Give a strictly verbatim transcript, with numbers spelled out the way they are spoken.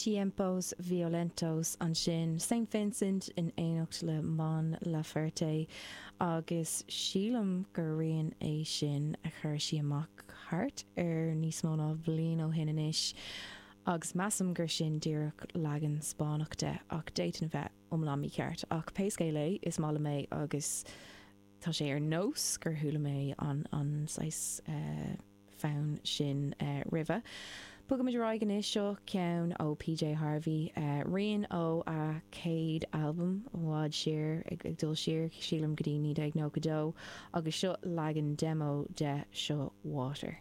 Tiempos Violentos ansin, Saint Vincent in éineacht le Mon Laferte agus sílim gur rian é sin a chuir sí amach thart ar níos mó ná bliain ó shin anois agus measaim gur sin díreach leagan Spáinneach de ach d'fhéadfainn a bheith iomlán mícheart ach pé scéal é is maith liom é agus tá sé ar nós gur chuala mé an an saghas uh, fonn sin uh, roimhe. Bogaimid ar aghaidh anois seo ceann ó PJ Harvey uh, rian ó a céad albam i bhfad siar ag, ag dul siar sílim go dtí naoi déag nócha dó agus seo leagan demo de seo Water.